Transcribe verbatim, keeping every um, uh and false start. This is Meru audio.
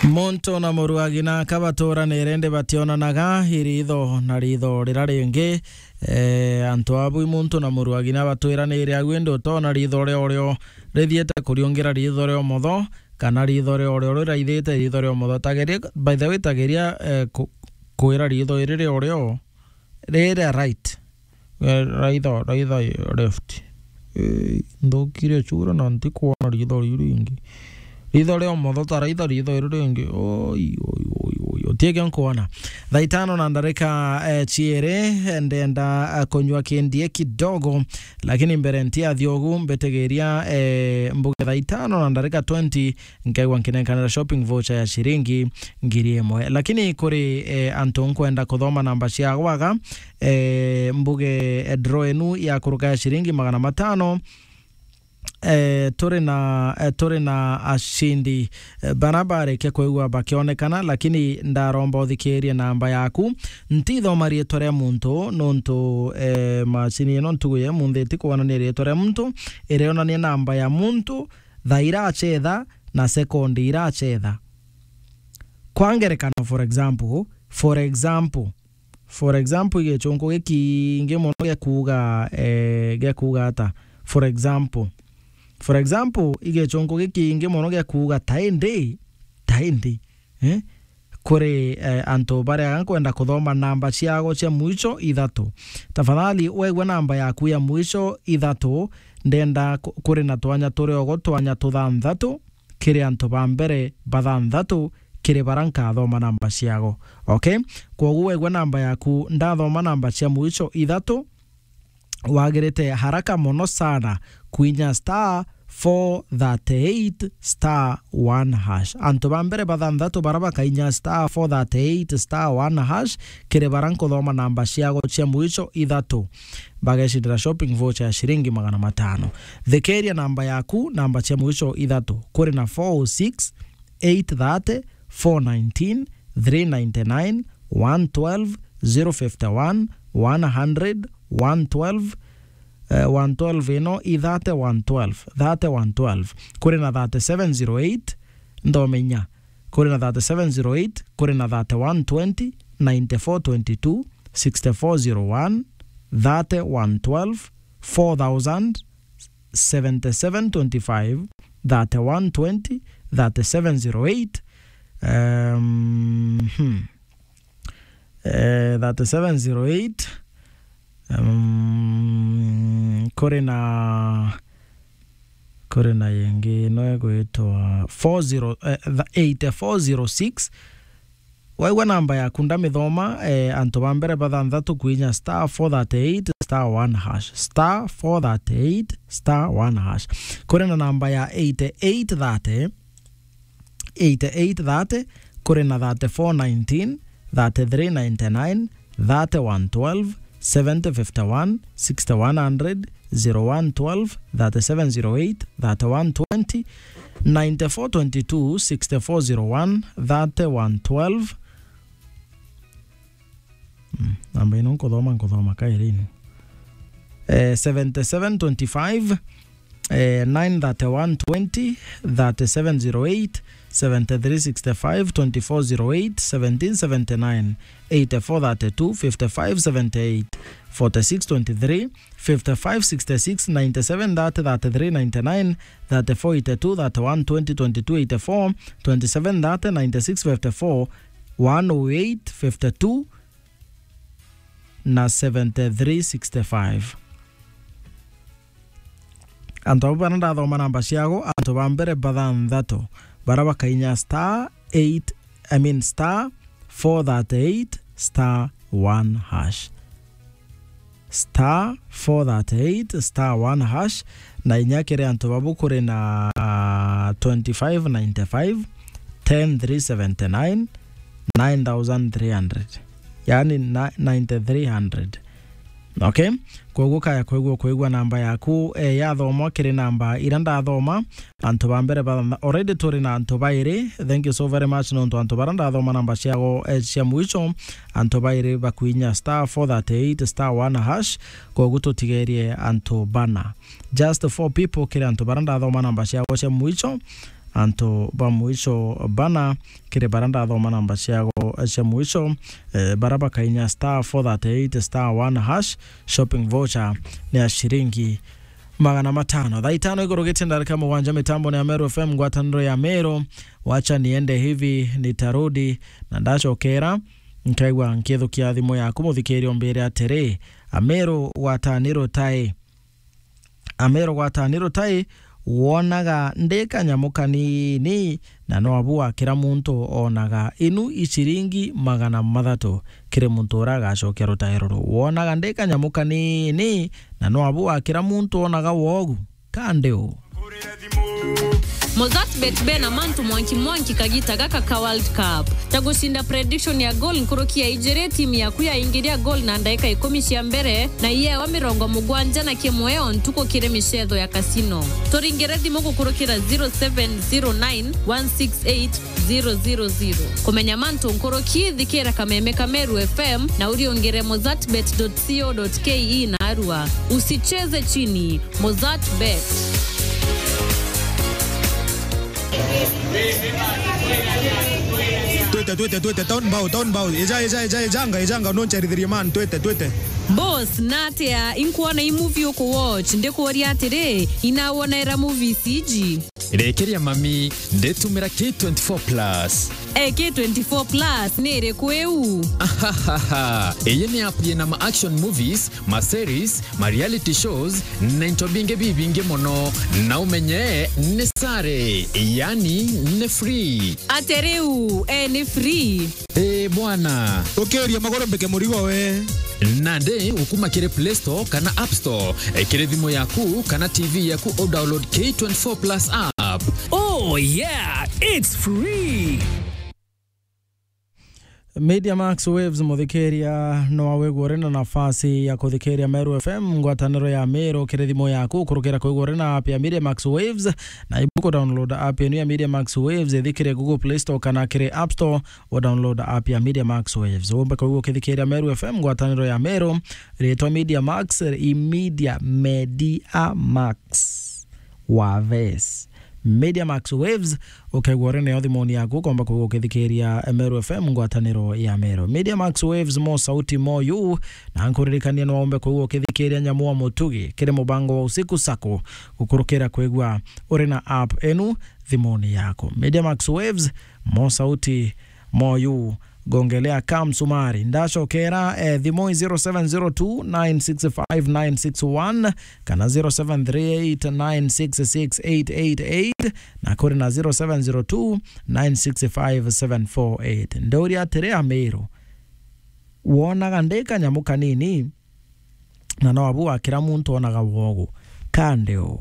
Muntu na muruagina ka baturanire, indi bationanaga iritho na ritho rira ringi. Eh, antu abu i muntu na muruagina batwiranire au, indi utoona ritho ria urio rithiite kuriungira ritho ria umotho, kana ritho ria urio riraithite ritho ria umotho. Tageria, by the way, tageria, eh, ku-, kwira ritho iri ria urio riria right. Eh, raitha, raitha left. Eh, nthukire chura na ntikwona ritho riu ringi. Ritho ria umotho ta raitha ritho iri ringi. Oi, oi, oi, oi. Utiege nkwona. Thaa itano na ndarika, eh, ciiri, ndenda, eh, kunywa kindie kidogo, lakini mbere ntiathi ugu, mbitigiria, eh, mbuge thaa itano na ndarika twenty, nkaigua nkinenkanira shopping voucher ya ciringi ngiri imwe. Lakini kuri, eh, antu nkwenda kuthoma namba cia gwaga, eh, mbuge, eh, draw enu ya kuruka ya ciringi magana matano, eh, turi na, eh, turi na acindi, eh, bana barikia kwigua bakionekana, lakini ndaromba uthikirie namba yaku. Ntithoma riitwa ria muntu, nontu, eh, macini ino ntugu ya munthi itikwonania riitwa ria muntu, irionania namba ya muntu, thaa irachetha na sekondi irachetha. Kwa ngerekano, for example, for example, for example, igechunku gikingi mono gia kuuga, eh, gia kuuga ata? For example, for example, igechunku gikingi mono gia kuuga ta indi, ta indi, eh? Kuri, eh, antu baria nkwenda kuthoma namba ciago cia mwicho ithatu. Tafadhali, wegua namba yaku ya mwicho ithatu, ndenda ku-, kuri na twanya turi ogo, twanya tuthanthatu kiri antu ba mbere bathanthatu kiri bara nkathoma namba ciago. Okay? Kwogu wegua namba yaku, ndathoma namba cia mwicho ithatu, wagirite haraka mono sana kwinya star four thirty-eight star one hash. Antu ba mbere bathanthatu bara bakainya star four thirty-eight star one hash, kiri bara nkuthoma namba ciago cia mwicho ithatu, bagecindira shopping voucher ya ciringi magana matano. Thikiria namba yaku, namba cia mwicho ithatu. Kuri na four oh six, eight thirty, four nineteen, three ninety-nine, one twelve, zero fifty-one, one hundred, one twelve, eh, one twelve ino i thirty, one twelve, thirty, one twelve. Kuri na thirty-seven zero eight, ndomenya. Kuri na thirty-seven zero eight, kuri na thirty-one twenty, ninety-four twenty-two, sixty-four zero one, thirty-one twelve, four thousand, seventy-seven twenty-five, thirty-one twenty, thirty-seven zero eight, um, hmm. Eh, thirty-seven zero eight, um, kuri na, kuri na yingi no igwitwa four zero, eh, th-, eighty-four zero six. Waigua namba yaku ndamithoma, eh, antu ba mbere bathanthatu kwinya star four thirty-eight star one hash. Star four thirty-eight star one hash. Kuri na namba ya eighty-eight thirty, eighty-eight thirty, kuri na thirty-four nineteen, thirty-three ninety-nine, thirty one twelve, seventy fifty-one, sixty-one hundred, zero one twelve, thirty-seven zero eight, thirty-one twenty, ninety-four twenty-two, sixty-four zero one, thirty-one twelve. Mm, namba ino nkuthoma, nkuthoma kairi ino. Eh, seventy-seven twenty-five, eh, nine thirty-one twenty, thirty-seven zero eight, seventy-three sixty-five, twenty-four zero eight, seventeen seventy-nine, eighty-four thirty-two, fifty-five seventy-eight, forty-six twenty-three, fifty-five sixty-six, ninety-seven thirty, thirty-three ninety-nine, thirty-four eighty-two, thirty-one twenty, twenty-two eighty-four, twenty-seven thirty, ninety-six fifty-four, one oh eight fifty-two na seventy-three sixty-five. Antu abu bara ndathoma namba ciago, antu ba mbere bathanthatu bara bakainya star eight, I mean star four thirty-eight star one hash. Star four thirty-eight star one hash, na inya kiri antu babu kuri na, ah, twenty-five ninety-five, ten three seventy-nine, nine thousand three hundred. Yaani na-, ninety-three hundred. Okay? Kwoguo kaya kwigua, kwigua namba yaku, eh, yathomwa kiri namba ira ndathoma, antu ba mbere ba, already turi na antu bairi. Thank you so very much nontu antu bara ndathoma namba ciago, eh, cia mwicho, antu bairi bakwinya star four thirty-eight star one hash, kwoguo tutigerie antu bana. Just four people kiri antu bara ndathoma namba ciago cia mwicho, antu ba mwisho bana, kiri bara ndathoma namba ciago cia mwisho, eh, bara bakainya star four thirty eight star one hash, shopping voucher ni ya ciringi magana matano. Thaa itano igurugitie ndarika mugwanja, mitambo ni ya Meru F M, ngwataniro ya Meru. Wacha niende hivi, nitarudi, na ndacokera nkaigua nkithukia thimu yaku, muthikiria, umbire atiri, Ameru gwataniro tai? Ameru gwataniro tai, wonaga ndi kanyamu kanini, na no abu wa kira muntu onaga? Inu i ciringi magana mathatu kiri muntu uria agacokia rutairo ruu. Wonaga ndi kanyamu kanini, na no abu wa kira muntu onaga wogu? Kandi u? Mozart Bet bena mantu mwanki mwanki kagita gaka ka World Cup. Ta gucinda prediction ya goal nkuruki ya ijiri, timu yaku yaingiria goal na ndaika ikumi cia mbere, na iyewa mirongo mugwanja na kimwe o ntuku kiri micetho ya casino. Turingire thimu gukurukira zero seven zero nine one six eight zero zero zero. Kumenya mantu nkuruki, thikira kameme ka Meru F M na uriungire mozartbet dot co dot K E na arua. Usicheze chini. Mozart Bet. Twite, twite, twite, town bao, town bao. Eja, eja, eja, ejanga, ejanga, noncherithirie man, twite, twite. Boss, natia inkuona i movie uku watch, ndikuuria atiri, inawonaira movies iji? Rekeria mami, nditumira K twenty-four plus. Eh, K twenty-four plus ni iriku iu? Ahahaha. Iyi ni app yina ma action movies, ma series, ma reality shows, na into bingi bibingi mono. Na umenye ni sare, yani ni free. Ate riu, eh, ni free? Eh, bwana. Ukiria maguru mbike murigo we. Nandi ukuma kiri Play Store kana App Store, eh, kiri thimu yaku kana T V yaku, u download K twenty-four plus app. Oh yeah, it's free. Media Max Waves, muthikiria, no awigua uri na nafasi ya kuthikiria Meru F M, ngwataniro ya Meru, kiri thimu yaku, kurukira kwigua uri na app ya Media Max Waves, na ibuku download app yenu ya Media Max Waves, ithi kiri Google Play Store kana kiri App Store, u download app ya Media Max Waves. Umbe kwigua ukithikiria Meru F M, ngwataniro ya Meru, ritwa Media Max, i Media, Media Max. Waves. Media Max Waves, ukaigua uri nayo thimuni yaku, ukomba kwigua ukithikiria Meru F M, ngwataniro ya Meru. Media Max Waves, mo sauti mo yu, na nkuririkania no umbe kwigua ukithikiria Nyamu wa Mutugi, kiri mubango wa Usiku Sacco, gukurukira kwigua uri na app enu thimuni yaku. Media Max Waves, mo sauti mo yu, gongelea ka msumari. Ndacokera, eh, thimu i zero seven zero two nine six five nine six one kana zero seven three eight nine six six eight eight eight, na kuri na zero seven zero two nine six five seven four eight. Ndauria atiri, Amiru, wonaga ndi kanyamu kanini, na no abu wa kira muntu onaga wogu? Kandi u?